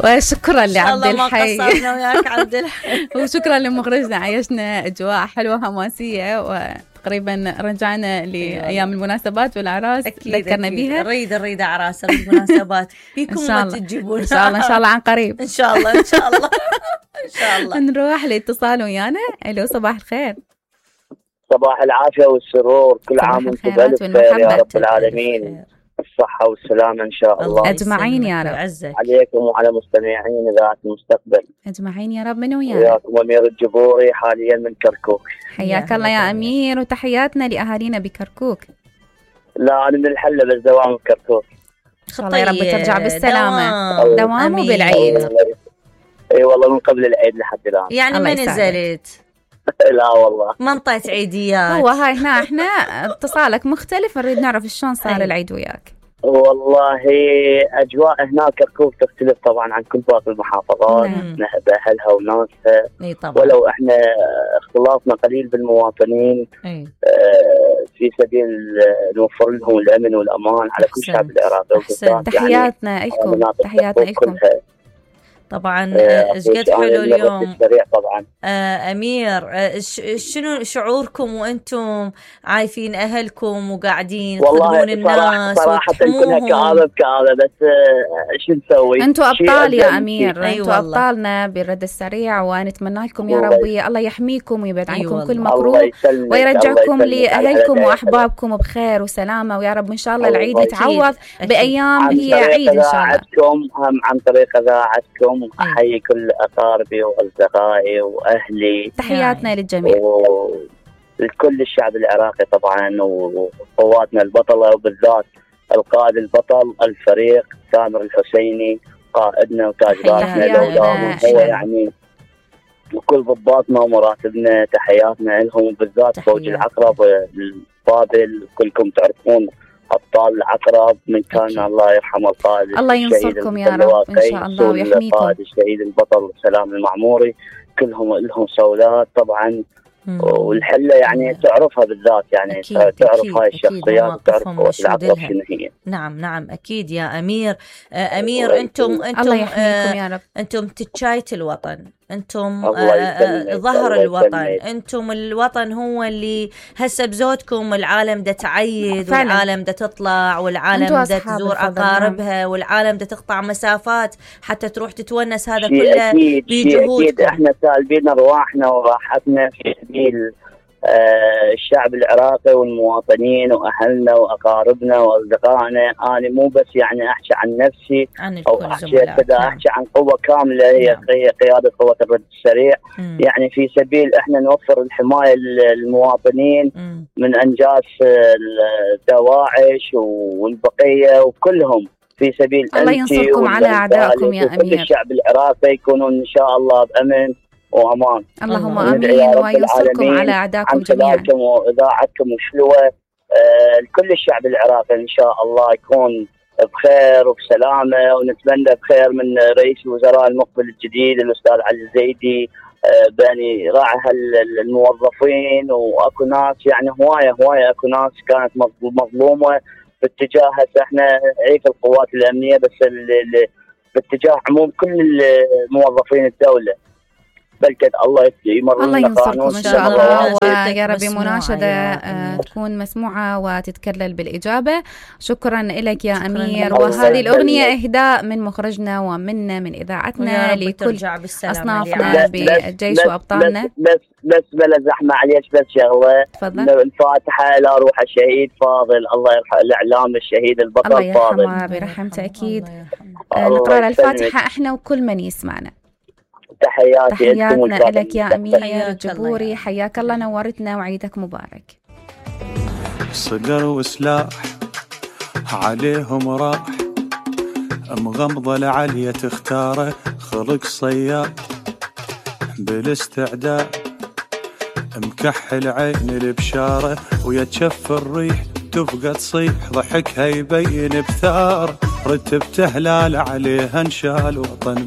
وشكرا لعبد الحي. ما قصرنا وياك عبد الحي. وشكرا لمخرجنا، عيشنا أجواء حلوة حماسية، وتقريبا رجعنا لأيام المناسبات والأعراس ذكرنا بيها. نريد أعراس المناسبات فيكم ما تجيبون إن شاء الله عن قريب. إن شاء الله إن شاء الله إن شاء الله. نروح لاتصال ويانا. ألو صباح الخير. صباح العافية والسرور، كل عام وانتم بألف خير يا رب العالمين، الصحة والسلامة إن شاء الله أجمعين يا رب. عليكم وعلى مستمعين إذاعة المستقبل أجمعين يا رب. من ويانا؟ وياكم أمير الجبوري حاليا من كركوك. حياك الله يا أمير، وتحياتنا لأهالينا بكركوك. لا أنا من الحلة بس دوام بكركوك. الله يا رب ترجع بالسلامة. دوام وبالعيد. اي والله من قبل العيد لحد الآن. يعني ما نزلت؟ لا والله ما انطيت عيديات. هو هاي هنا احنا اتصالك مختلف، نريد نعرف شلون صار العيد وياك. والله أجواء هناك كركوك تختلف طبعا عن كل باقي المحافظات، بأهلها وناسها. ولو احنا اختلافنا قليل بالمواطنين في سبيل نوفر لهم الأمن والأمان على كل شعب العراق. تحياتنا لكم. تحياتنا لكم. طبعا قد حلو اليوم طبعا. أمير، شنو شعوركم وأنتم عايفين أهلكم وقاعدين تخدمون الناس؟ صراحة كنا كآبة بس شو نسوي؟ أنتوا أبطال يا أمير. أنتوا أبطالنا بالرد السريع، ونتمنى لكم يا ربي الله يحميكم ويبعد عنكم كل مكروه، ويرجعكم لأهلكم وأحبابكم بخير وسلامة، ويا رب إن شاء الله العيد يتعوض بأيام هي عيد إن شاء الله. هم عن طريق إذاعتكم أحيي كل أقاربي وأصدقائي وأهلي. تحياتنا للجميع لكل الشعب العراقي طبعا، وقواتنا البطلة، وبالذات القائد البطل الفريق سامر الحسيني قائدنا وتاج راسنا لولاهم هو يعني، وكل ضباطنا ومراتبنا تحياتنا لهم، وبالذات فوج العقرب الفاضل كلكم تعرفون أبطال العقرب من كان الله يرحمه القائد الله ينصركم يا رب إن شاء الله ويحميكم. القائد الشهيد البطل سلام المعموري كلهم لهم صولات طبعا. والحلة يعني تعرفها بالذات، يعني تعرف هاي الشخصيات وتعرف قوة العقرب شنو هي. نعم أكيد يا أمير. أمير أنتم الله يحميكم يا رب. أنتم تتشاية الوطن، أنتم ظهر الوطن، أنتم الوطن هو اللي هسه بزودكم العالم دا تعيد والعالم دا تطلع والعالم دا تزور أقاربها والعالم دا تقطع مسافات حتى تروح تتونس. هذا كله بجهودكم. احنا سالبين أرواحنا وراحتنا في سبيل الشعب العراقي والمواطنين وأهلنا وأقاربنا وأصدقائنا. أنا مو بس يعني أحكي عن نفسي أو أحكي كذا، أحكي عن قوة كاملة هي قيادة قوة الرد السريع. يعني في سبيل إحنا نوفر الحماية للمواطنين من أنجاس دواعش والبقية وكلهم، في سبيل الله ينصركم على أعدائكم يا أمير. الشعب العراقي يكونون إن شاء الله بأمن وأمان. اللهم آمين، وينصركم على أعدائكم جميعا. وإذاعتكم وشلوة لكل الشعب العراقي إن شاء الله يكون بخير وبسلامة، ونتمنى بخير من رئيس الوزراء المقبل الجديد الأستاذ علي الزيدي بأن راعي الموظفين. وأكو ناس يعني هواية أكو ناس كانت مظلومة باتجاه احنا عيف القوات الأمنية، بس باتجاه عموم كل موظفين الدولة. بلكد الله يمر الله ينصركم إن شاء الله، ويا ربي مناشدة تكون مسموعة وتتكلل بالإجابة. شكرا لك يا أمير. وهذه الأغنية إهداء من مخرجنا ومنا من إذاعتنا لكل أصنافنا بالجيش وأبطالنا. بس بلا زحمة عليك، بس شغلة. تفضل. الفاتحة إلى روح الشهيد فاضل، الله يرحم الإعلام الشهيد البطل فاضل، الله يرحمه برحمته أكيد. نقرأ الفاتحة إحنا وكل من يسمعنا. تحياتنا لك يا أمير الجبوري، حياك الله، نورتنا وعيدك مبارك. صقر وسلاح عليهم راح، مغمضة العليا تختاره، خلق صياد بالاستعداد، مكحل عين البشارة ويتشف الريح تفقى تصيح، ضحكها يبين بثار، رتبت هلال عليها انشال وطن